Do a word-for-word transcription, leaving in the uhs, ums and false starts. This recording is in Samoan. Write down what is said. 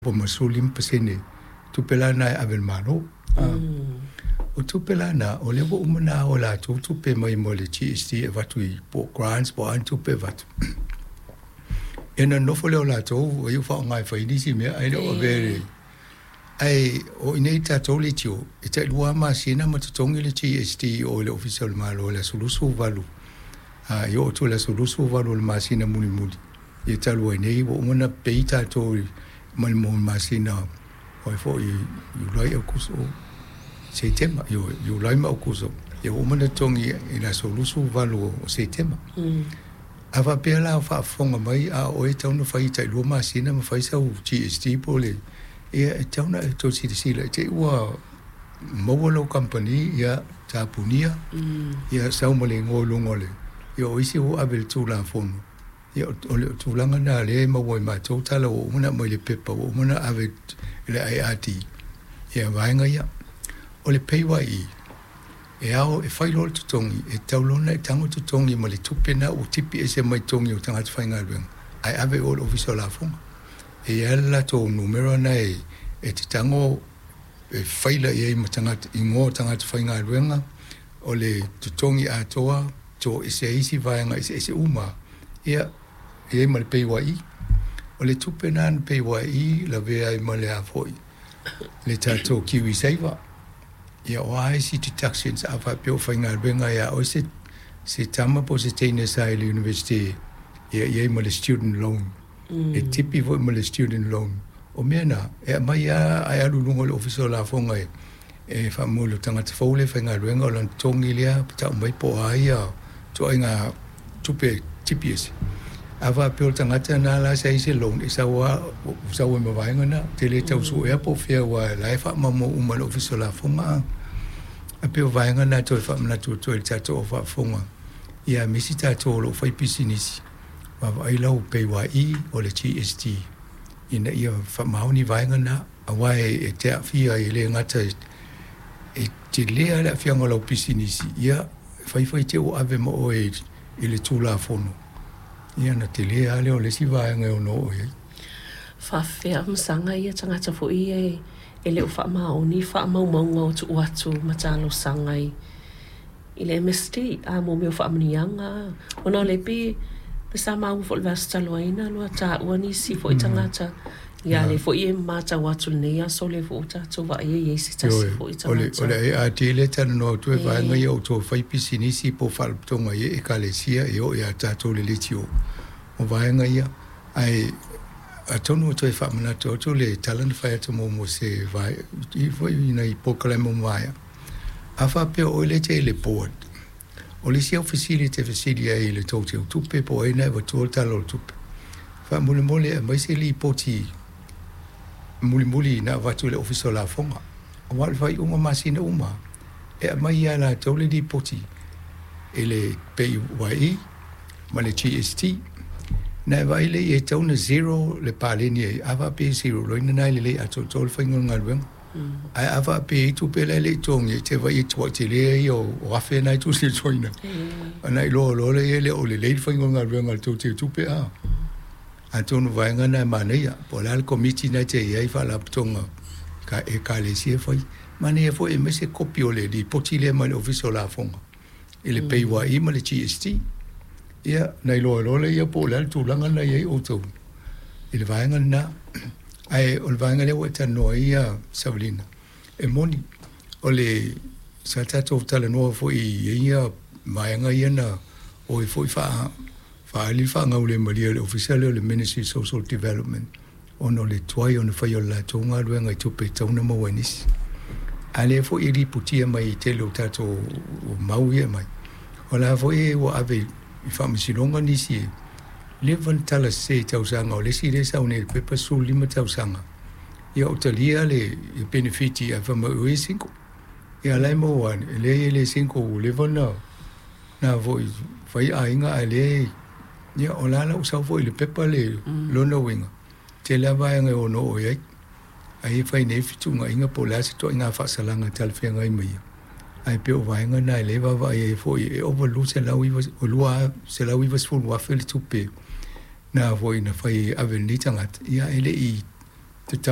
Po ma sefulu lima pasene tupe la na e ave i le Malo. O tupe la na, o lea ua uma ona ao e latou tupe mai mo le G S T e avatu i po o grants po o a ni tupe e avatu. Ia ona nonofo lea o latou ua iu faaaoga e fai ai nisi mea ae le o avea i le... Ae o i inei i le tatou leitio, e tailua lava masina ma totogi le G S T i o i le Ofisa o le Malo i le aso luasefuluvalu, e oo atu i le aso luasefuluvalu o le masina mulimuli, ia talu ai nei ua uma ona pay tatou mai le masina o foi Iulai, Aokuso, Setema, Iulai ma Aokuso, ia ua uma ona totogi i le aso luasefuluvalu o Setema. A faapea la o faafofoga mai a o oe e tatau ona fai tailua masina ma fai sau G S T po o le... ia e tatau ona e toe silasila i te i ua maua lau kamupani, ia tapunia, ia sau ma le igoa i luga o le... ia o isi ua ave i le Tulafono, ia o le tulaga na lea e maua e matou tala ua uma ona aumai i le pepa ua uma ona ave i le I R D, ia vaega ia. O le P A Y E, e ao e fai loa le totogi, e tatau loa ona e tago totogi ma le tupe na ua tipi ese mai totogi o tagata faigaluega, ae ave i o i le Ofisa o Lafoga. E i ai le latou numera na e e te tago e faila i ai ma tagata, igoa o tagata faigaluega, o le totogi atoa, toese ai isi vaega eseese uma, ia, e i ai ma le P A Y E. O le tupe na na P A Y E lavea ai ma le a foi, le tatou Kiwi Saver. Ia o a isi deductions a faapea o faigaluega ia oe se, se tama po o se teine sa i le university, ia i ai ma le student loan. Mm. E tipi foi ma le student loan. O mea na, e aumai lava ae alu i luga o le Ofisa o Lafoga e, e faamua i le tagata fou le faigaluega o lona totogi lea, tau mai po o a ia ituaiga tupe tipi ese. A faapea o le tagata na la sa i se loan, e sau lava, sau ai ma vaega na, te le tau suea po o fea ua la e faamaumau uma e le Ofisa o Lafoga. A pei o vaega na toe faamanatu atu ai i le tatou au faafofoga, ia aemaise tatou o lo o fai pisinisi, vaavaai lau P A Y E o le G S T, ina ia faamaoni vaega na, aua e te aafia ai e le gata e telea le aafiaga o lau pisinisi, ia fai fai te ua ave ma oe i le Tulafono, ia na telea lea o le isi vaega e ono oo i ai. Faafefea masaga ia tagata foi e e le o faamaoni faamaumauga o tuu atu ma talosaga i i le M S T, a mo mea o faamanuiaga, ona o le pe pe sa maua foi le vaiaso talu ai na lua taua nisi foi tagata, ia le foi e matau atu lenei aso le foi o tatou vaai ai se tasi foi tagata. O le A R T le talanoa atu e vaega ia o tou fai pisinisi po o faalapotopotoga i ekalesia e oo ia tatou le leitio. O vaega ia, ae atonu o toe faamanatu atu le tala na fai atu muamua se vae, i foi nai polokalame o maea. A faapea o oe le te i le board, o le isi au fesili te fesili ai i le tou teutupe po o ai na e avatua le tala o le tupe. Faamolemole e aumai se lipoti mulimuli na avatu i le Ofisa o Lafoga. Aua o le faaiuga masina uma, e aumai ia latou le lipoti i le P A Y E ma le G S T. Na e vaai le e tatau ona zero le paleni ai, a faapea e zero, loina na e lelei atoatoa le faiga o le galuega. Ae a faapea e tupe la e le i totogi, e te vaai e tuai telea ia o afe na e tusi e toina. Ana i loa loa le ia le o lelei le faiga o le galuega a le tou teutupe a. Atonu vaega na e manaia, po o le a le komiti na te i ai faalapotopotoga ka ekalesia fai. Manaia foi e aumai se kopi o le lipoti lea mai le Ofisa o Lafoga i le P A Y E ma le G S T. Ia, na iloa loa lea po o le a le tulaga na i ai outou i le vaega lena. Ae o le vaega lea ua e talanoa ai ia Savalina, e moni o le sa tatou talanoa foi i ia vaega ia na o e foi faa faaali le faagaulemalie o le Ofisa lea o le Ministry of Social Development ona o le tuai ona fai o le latou galuega i tupe e tatau ona maua e nisi. A lea foi e lipotia mai i tele o tatou mau ia mai. O la foi ua ave i faamasinoga nisi e leva ona tala sese i tausaga o le isi lea e sau nei i le pepa sefulu lima tausaga. Ia o talia le benefiti ae fai mai o e single. Ia la e maua ane, e leai e le single ua leva ona na foi fai aiga ae le ia o la la ua sau foi i le pepa le lona uiga. Tele lava vaega e ono oo i ai. Ai e fai nei fetuunaiga po o le a se ituaiga faasalaga e talafeagai ma ia. Ae pei o vaega na e le vaavaai ai foi e ova lua selau ivasefulu afe le tupe na foi na fai ave i lenei tagata, ia e le i tatau